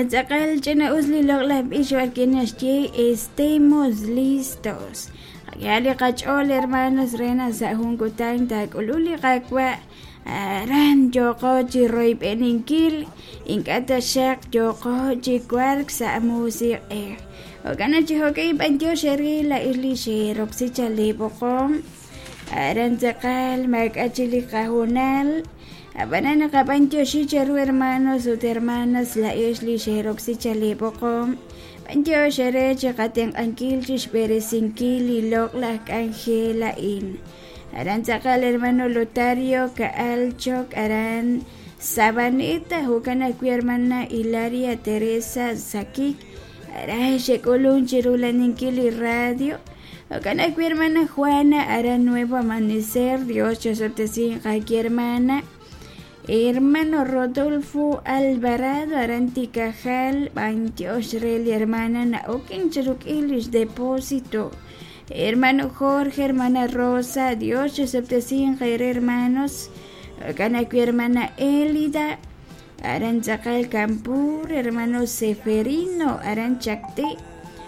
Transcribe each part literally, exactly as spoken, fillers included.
Aran tz'aqal ch'ina'us li loq'laj b'ich b'arwi' naxye estemos listos. Qak'ehaq li qach'ool hermanos re naq sa' jun kutan taak'ulub' li Qaawa' aran yooqo chi royb'eninkil ink'a' taxaq yooqo chi wark sa' musiq'ej. Jo'kan naq chi jo'kan b'antiox eere laa'ex li xeroksi chaq li b'oqom aran tz'aqal maak'a' chik li qahoonal. Ab'anan naqab'antioxi cheru hermanos ut hermanas laa'ex li xeroksi chaq li b'oqom b'antiox eere chi qatenq'ankil chi xb'eresinkil li loq'laj k'anjel a'in. Aran tz'aqal hermano Lotario Ka'alchok aran Sabaneta jo'kan ajwi' hermana Hilaria Teresa Sakik aran xek'ulun chi rulaninkil li radio. Jo'kan ajwi' hermana Juana aran Nuevo Amanecer Dios chosob'tesinq aki hermana. Hermano Rodolfo Alvarado aran Tikajal b'antiox re li hermana na'oken chi ruk'in lix depósito. Hermano Jorge, hermana Rosa, Dios chosob'tesinq eere hermanos. Jo'kan ajwi' hermana Elida aran tz'aqal Campur, hermano Seferino aran Chacté.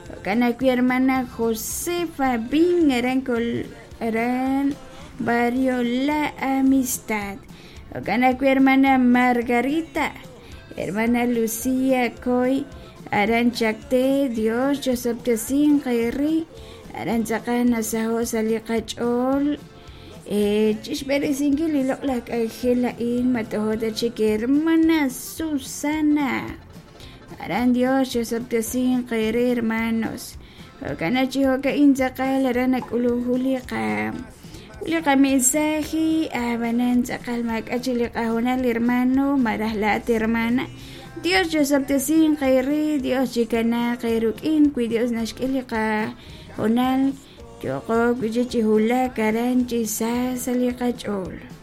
Jo'kan ajwi' hermana Josefa Bin aran Col aran Barrio La Amistad. Jo'kan ajwi' hermana Margarita, hermana Lucía Coy aran Chacté, Dios chosob'tesinq eere aran tz'aqal nasaho' sa' li qach'ool chi xb'eresinkil li loq'laj k'anjel a'in matojo' ta chik hermana Susana. Aran Dios chosob'tesinq eere hermanos. Jo'kan naq chi jo'ka'in tz'aqal aran nak'ulun jun li qa li qamensaje ab'anan tz'aqal maak'a' chik li qahoonal hermano malaj laa'at hermana. Dios chosob'tesinq eere, Dios chikanaaq eeruk'in wi Dios naxk'e li qahoonal yooqo wi' chik chi wulak aran chi sa sa' li qach'ool.